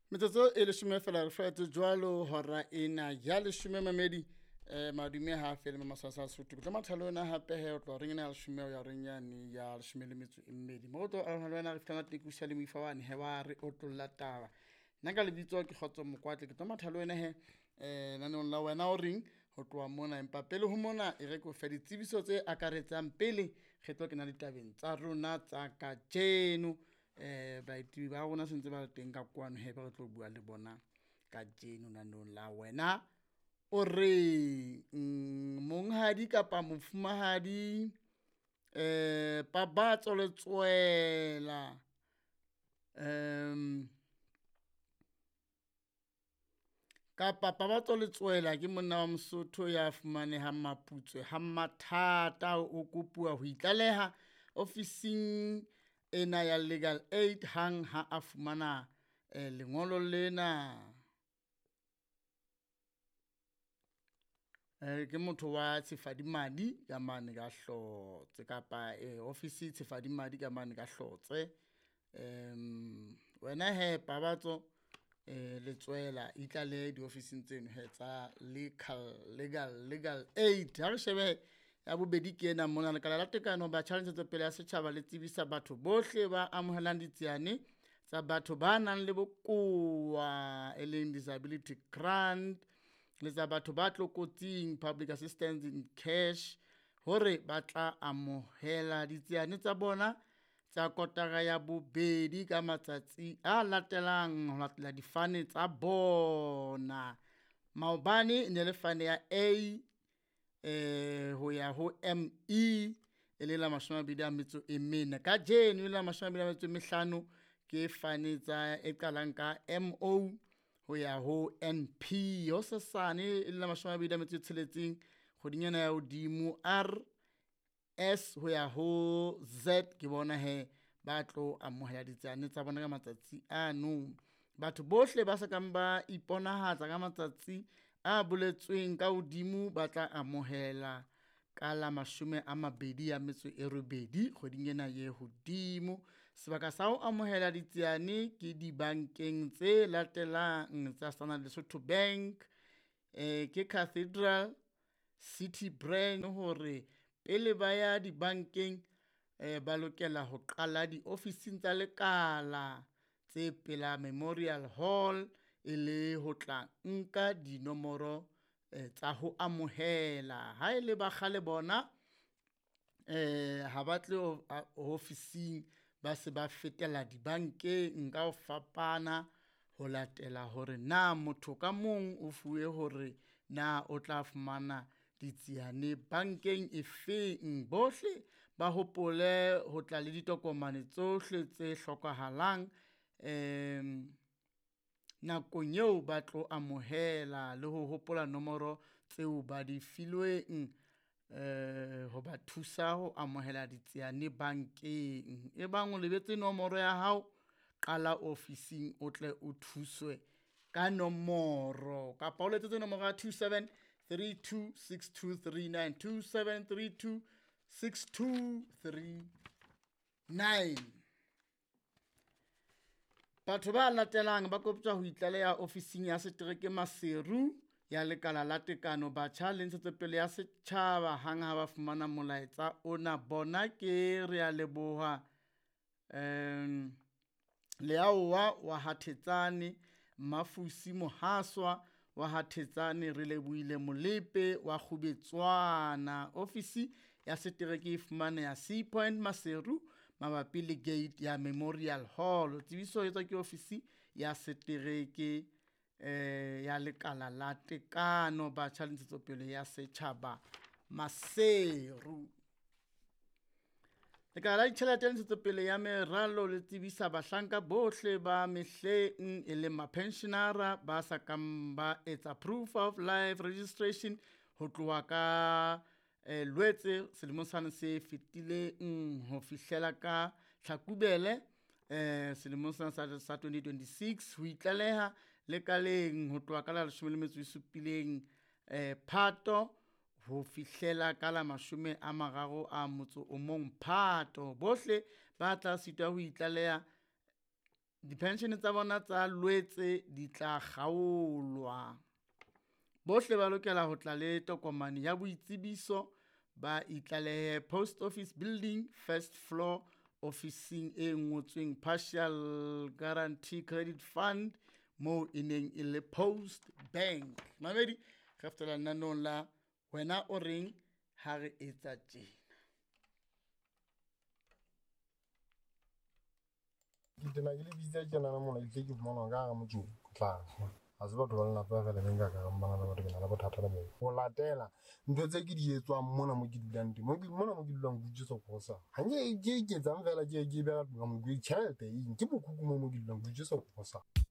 Metsotso e leshome fela re fetse jwalo hora ena ya leshome mamedi. Madume ha fele masasa a Sotho. Ke tlo matha le wena hape he o tloha horeng ena ya leshome ho ya horeng yane ya leshome le metso e mmedi. Mo re tlo arohana le wena re fihla tekusa le moifa wane he wa re otlolla taba. Nna ka lebitso ke Kgotso Mokoatle, ke tlo matha le wena he lenaneong la wena o reng ho tloha mona. Empa pele ho mona e re ke o fe ditsebiso tse akaretsang pele re tlo kena ditabeng tsa rona tsa kajeno. Baeti ba rona sentse ba le teng ka kwano he be re tlo bua le bona kajeno naneong la wena o reng. Monghadi kapa mofumahadi Pabatso Letsoela kapa Pabatso Letsoela ke monna wa Mosotho ya fumanehang Maputswe ha Mathata. O kopuwa ho itlaleha ofising ena ya Legal Aid hang ha a fumana lengolo lena. Ke motho wa Tshifadimadi ka mane ka Hlotse kapa ofisi Tshifadimadi ka mane ka Hlotse. Wena he Pabatso Letsoela itlalehe diofising tseno he tsa Legal Aid. Ha re shebe ya bobedi ke ena mona. Lekala la Tekano, Batjha le Ntshetsopele ya Setjhaba le tsebisa batho bohle ba amohelang ditsiane tsa batho ba nang le bokowa e leng disability grant le tsa batho ba tlokotsing public assistance in cash hore ba tla amohela ditsiane tsa bona tsa kotara ya bobedi ka matsatsi a latelang ho latela difane tsa bona. Maobane e ne le fane ya A ho ya ho M E e le la mashome a mabedi a metso e mene. Kajeno e le la mashome a mabedi a metso e mehlano ke fane tsa e qalang ka M O ho ya ho N P. Hosesane e le la mashome a mabedi a metso e tsheletseng kgweding ena ya hodimo R S ho ya ho Z ke bona he ba tlo amohela ditsiane tsa bona ka matsatsi ano. Batho bohle ba sa kang ba iponahatsa ka matsatsi a boletsweng ka hodimo ba tla amohela ka la mashome a mabedi a metso e robedi kgweding ena ye hodimo. Sebaka sa ho amohela ditsiane ke dibankeng tse latelang tsa Standard Lesotho Bank, ke Cathedral City Branch hore pele ba ya dibankeng ba lokela ho qala diofising tsa lekala tse pela Memorial Hall e le ho tla nka dinomoro tsa ho amohela. Ha e le ba kgale bona ha ba tle ofising, ba se ba fetela dibankeng ka ho fapana ho latela hore na motho ka mong o fuwe hore na o tla fumana ditsiane bankeng e feng. Bohle ba hopole ho tla le ditokomane tsohle tse hlokahalang nakong eo ba tlo amohela le ho hopola nomoro tseo ba di filweng ho ba thusa ho amohela ditsiane bankeng. E bang o lebetse nomoro ya hao, qala ofising o tle o thuswe ka nomoro kapa o letsetse nomoro ya 2732 6239, 2732 6239. Batho ba latelang ba koptjwa ho itlaleha ofising ya setereke Maseru ya Lekala la Tekano, Batjha le Ntshetsopele ya Setjhaba hang ha ba fumana molaetsa ona. Bona ke re a leboha Leaowa wa ha Thetsane, Mafusi Mohaswa wa ha Thetsane, re lebohile Molepe wa Kgubetswana. Ofisi ya setereke e fumaneha Sea Point Maseru mabapi le gate ya Memorial Hall. Tsebiso e etswa ke ofisi ya setereke ya Lekala la Tekano, Batjha le Ntshetsopele ya Setjhaba Maseru. Lekala la Ditjhelete le Ntshetsopele ya Meralo le tsebisa bahlanka bohle ba mehleng e leng mapensionara ba sa kang ba etsa proof of life registration ho tloha ka Lwetse selemong sane se fetileng ho fihlela ka Tlhakubele selemong sena sa 2026 ho itlaleha lekaleng ho tloha ka la leshome le metso e supileng Phato ho fihlela ka la mashome a mararo a motso o mong Phato. Bohle ba tla sitwa ho itlaleha Dipenshene tsa bona tsa Loetse di tla kgaolwa. Bohle ba lokela ho tla le tokomane ya boitsebiso, ba itlalehe Post Office Building, first floor, ofising e ngotsweng Partial Guarantee Credit Fund, moo e neng e le Post Bank. Mamedi, re fetela lenanong la wena o reng ha re etsa tjena. Ke tena ke le bitsa tjenana mona ke tle ke fumana ka hara motsoko tla ha se batho ba lelapa fela be nka ka bana le batho ke na le bothata le bona. Ho latela ntho tse ke di etswang mona mo ke dulang teng, mona mo ke dulang ke utswetsa grocery. Ha nke ke iketsang fela ke beha ka mo ke tjhelete eng ke mokhukhu mo mo ke dulang ke utswetsa grocery.